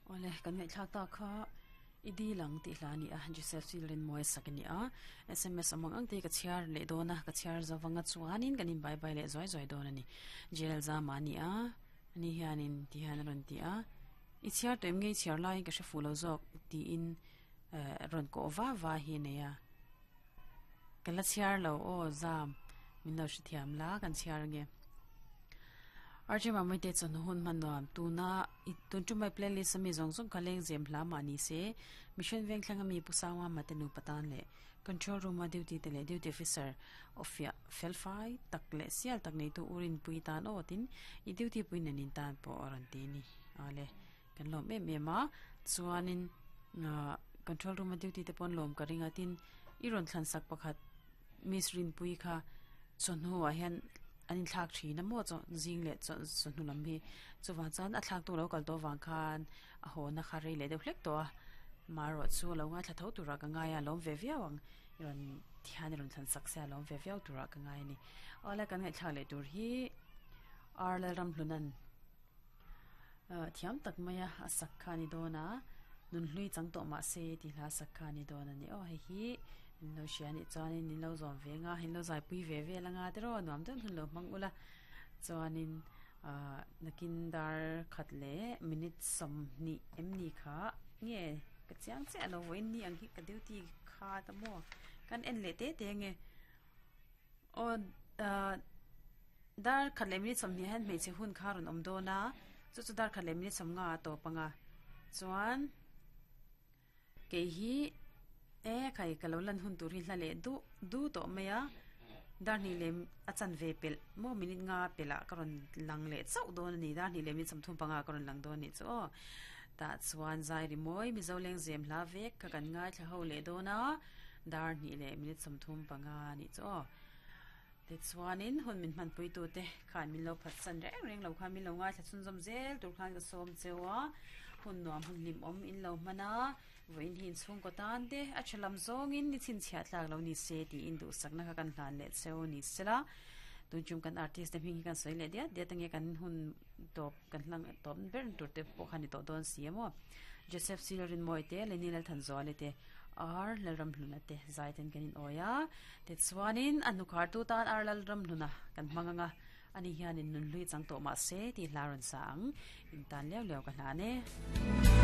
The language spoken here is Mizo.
Awle, kan ngaihthlak tak kha i dil ang tih hla a ni a, Joseph Children Mawi sak a ni a, sms awm ang ang te hi ka chhiar leh dawn a, ka chhiar zo vanga chuanin kan in bye bye leh zuai zuai dawn a ni. Jail zama a ni a, ani hianin ti hian a rawn ti a, i chhiar tawh em nge i chhiar laiin ka hre fuh lo zawk tiin eh rawn kawh va va hi a nei a, ka la chhiar lo aw zam min lo hrethiam la kan chhiar ange. Archie Mamawite chawhnu hun hman nuam tuna i tun tum mai playlist ami zawng zawng kha leng zem hla mah ni se Mission Vengthlang ami Pu Sangwa Mate nupa tan leh Control Room a duty te leh Duty Officer awfiah felfai tak leh sial tak neitu U Rinpui tan aw tin i duty pui nen in tan pawh a rawn ti a ni. Awle kan lawm em em a chuanin ah Control Room a duty te pawh an lawm ka ring a tin i rawn thlan sak pakhat Miss Rinpui kha chawhnu ah hian an inthlak thin a maw chaw zing leh chaw chawhnu lam hi chuvang chuan a thlak tu lo kal tawh avang khan a haw na kha rei leh deuh hlek tawh a marawh chu lo ngaithla tho turah ka ngai a lawm ve viau ang i rawn thian i rawn thlan sak se a lawm ve viau turah ka ngai a ni awle kan ngaihthlak leh tur hi Ar Lalramhlunan ah thiam tak mai a a sak kha a ni dawn a nunhlui chang tawh mah se tih hla sak kha a ni dawn a ni aw hei hi in lo hria anih chuanin in lo zawm ve anga in lo zaipui ve vel anga te rawh nuam deuh hun lo hmang ula chuanin ah nakin dar khat leh minute sawmhnih em ni kha nge ka chiang chiah lo vawiin ni ang hi ka duty kha ta maw kan en leh te te ange. Aw ah dar khat leh minute sawmhnih hian hmeichhe hun kha a rawn awm dawn a chu chu dar khat leh minute sawmnga a tawp ang a chuan kei hi e khai ka lo lan hun tur hi hla leh duh duh tawh mai a dar hnih leh a chanve pelh maw minute nga pelh ah ka rawn lang leh chauh dawn a ni dar hnih leh minute sawmthum panga ah ka rawn lang dawn a nih chu aw tah chuan zai rimawi mizo lengzem hla vek kha kan ngaithla ho leh dawn a. Dar hnih leh minute 35 a nih chu aw. Tichuanin hun min hmanpuitute khan min lo phatsan reng reng lo khan min lo ngaithla chhunzawm zel tur khan ka sawm cheu a. Hun nuam hun hlimawm in lo hman a, vawiin hi inchhungkaw tan te a tha lam zawngin ni chhinchhiah tlak lo ni se tiin duhsakna kha kan hlan leh cheu ni sela. Tun chung kan artist te hming hi kan sawi leh diat diat ange kan hun tawp kan hlang tawp ber tur te pawh kha ni tawh dawn si a maw. Joseph Silrinmawi te Lenny Lalthanzuali te Ar Lalramhluna te zai ten kan in awi a, tichuanin a hnukhartu tan Ar Lalramhluna kan hmang ang a, ani hianin nunhlui chang tawh mahse tih hla rawn sa ang, in tan liau liau ka hlan e.